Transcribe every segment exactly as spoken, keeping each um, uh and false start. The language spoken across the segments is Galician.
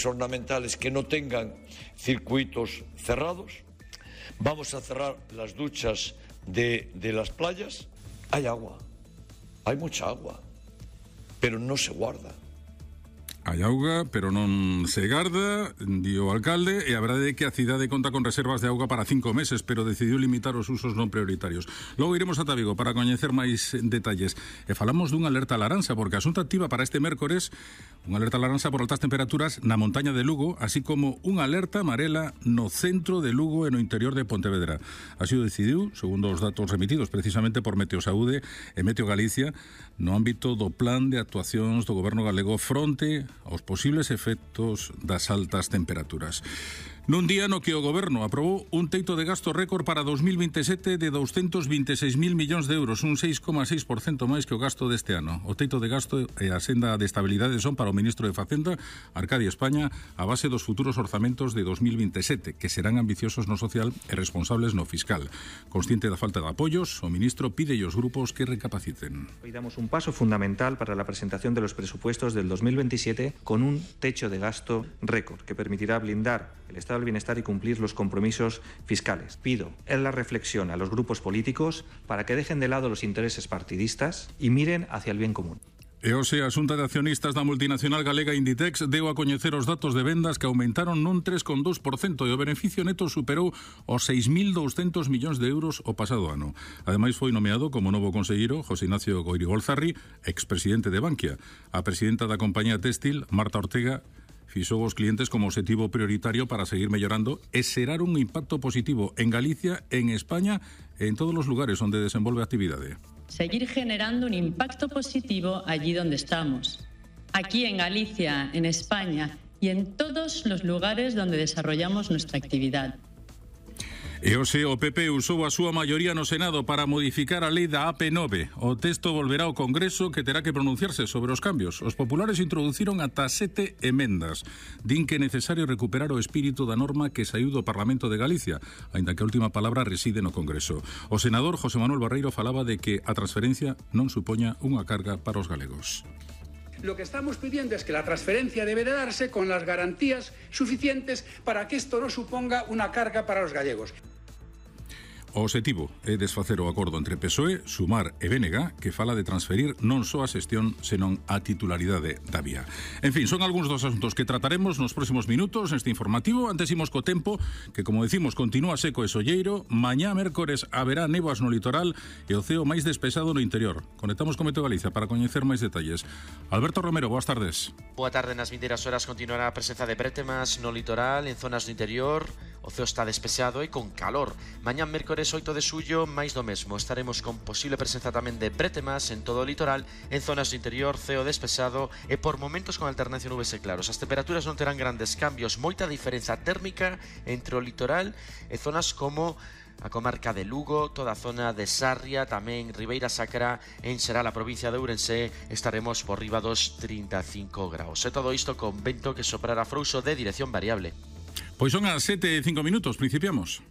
ornamentales que no tengan circuitos cerrados. Vamos a cerrar las duchas de, de las playas. Hay agua, hay mucha agua, pero no se guarda. Hai auga, pero non se garda, di o alcalde, e a verdade é que a cidade conta con reservas de auga para cinco meses, pero decidiu limitar os usos non prioritarios. Logo iremos ata Vigo para coñecer máis detalles. E falamos dunha alerta laranxa, porque a Xunta activa para este mércores unha alerta laranxa por altas temperaturas na montaña de Lugo, así como unha alerta amarela no centro de Lugo e no interior de Pontevedra. Así o decidiu, segundo os datos remitidos precisamente por Meteosaude e Meteo Galicia, no ámbito do plan de actuacións do goberno galego fronte aos posibles efectos das altas temperaturas. Nun día no que o goberno aprobou un teito de gasto récord para dos mil vinte e sete de doscientos vinte e seis mil millóns de euros, un seis coma seis por cento máis que o gasto deste ano. O teito de gasto e a senda de estabilidade son para o ministro de Facenda, Arcadio España, a base dos futuros orzamentos de dos mil vinte e sete, que serán ambiciosos no social e responsables no fiscal. Consciente da falta de apoios, o ministro pide aos grupos que recapaciten. Hoy damos un paso fundamental para la presentación de los presupuestos del dos mil veintisiete con un techo de gasto récord que permitirá blindar el estado del bienestar y cumplir los compromisos fiscales. Pido en la reflexión a los grupos políticos para que dejen de lado los intereses partidistas y miren hacia el bien común. E hoxe a Xunta de Accionistas da multinacional galega Inditex deu a coñecer os datos de vendas que aumentaron nun tres coma dos por cento e o beneficio neto superou os seis mil douscentos millóns de euros o pasado ano. Ademais foi nomeado como novo conselleiro José Ignacio Goirigolzarri, expresidente de Bankia. A presidenta da compañía téxtil, Marta Ortega, fixou os clientes como objetivo prioritario para seguir mellorando e xerar un impacto positivo en Galicia, en España e en todos os lugares onde desenvolve a actividade. Seguir generando un impacto positivo allí donde estamos, aquí en Galicia, en España y en todos los lugares donde desarrollamos nuestra actividad. E hoxe o P P usou a súa maioría no Senado para modificar a lei da A P nove. O texto volverá ao Congreso que terá que pronunciarse sobre os cambios. Os populares introduciron ata sete emendas. Din que é necesario recuperar o espírito da norma que saiu do Parlamento de Galicia, aínda que a última palabra reside no Congreso. O senador José Manuel Barreiro falaba de que a transferencia non supoña unha carga para os galegos. Lo que estamos pidiendo es que la transferencia debe de darse con las garantías suficientes para que esto no suponga una carga para los gallegos. O objetivo é desfacer o acordo entre P S O E, Sumar e B N G, que fala de transferir non só a xestión, senón a titularidade da vía. En fin, son algúns dos asuntos que trataremos nos próximos minutos neste informativo. Antes imos co tempo, que como decimos, continúa seco e solleiro. Mañá, mércores, haberá néboas no litoral e o ceo máis despexado no interior. Conectamos con Meteo Galicia para coñecer máis detalles. Alberto Romero, boas tardes. Boa tarde. Nas vindeiras horas continuará a presenza de brétemas no litoral, en zonas do interior. O ceo está despexado e con calor. Mañá, mércores oito de xullo, máis do mesmo. Estaremos con posible presenza tamén de brétemas en todo o litoral, en zonas do interior, ceo despexado e por momentos con alternancia nubes e claros. As temperaturas non terán grandes cambios, moita diferenza térmica entre o litoral e zonas como a comarca de Lugo, toda a zona de Sarria, tamén Ribeira Sacra, en Xeral, a provincia de Ourense, estaremos por riba dos trinta e cinco graus. E todo isto con vento que soprará frouxo de dirección variable. Pois son as sete e cinco minutos, principiamos.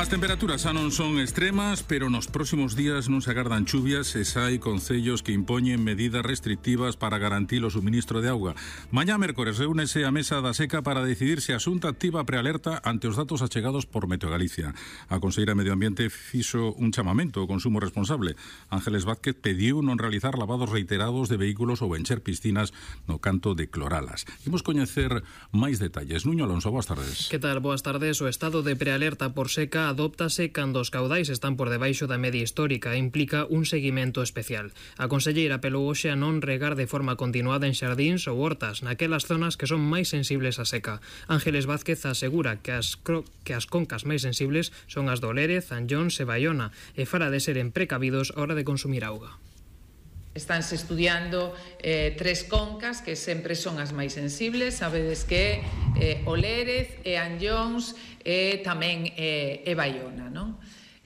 As temperaturas xa non son extremas, pero nos próximos días non se agardan chuvias e xa hai concellos que impoñen medidas restrictivas para garantir o suministro de auga. Mañá, mércores, reúnese a mesa da seca para decidir se a Xunta activa prealerta ante os datos achegados por Meteo Galicia. A conselleira de Medio Ambiente fixo un chamamento ao consumo responsable. Ángeles Vázquez pediu non realizar lavados reiterados de vehículos ou encher piscinas no canto de Cloralas. Imos coñecer máis detalles. Nuño Alonso, boas tardes. Que tal? Boas tardes. O estado de prealerta por seca adóptase cando os caudais están por debaixo da media histórica e implica un seguimento especial. A conselleira apelou hoxe a non regar de forma continuada en xardíns ou hortas, naquelas zonas que son máis sensibles á seca. Ángeles Vázquez asegura que as, que as concas máis sensibles son as do Lérez, Anllóns e Baiona e fala de seren precavidos a hora de consumir auga. Estánse estudiando eh, tres concas que sempre son as máis sensibles. Sabedes que eh, o Lérez e Anllóns e tamén eh, e Baiona, non?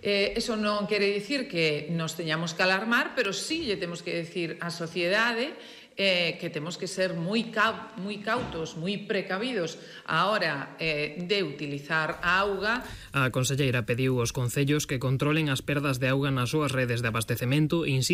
Eh, eso non quere dicir que nos teñamos que alarmar, pero sí lle temos que decir á sociedade eh, que temos que ser moi, cau moi cautos, moi precavidos a hora eh, de utilizar a auga. A conselleira pediu aos concellos que controlen as perdas de auga nas súas redes de abastecemento e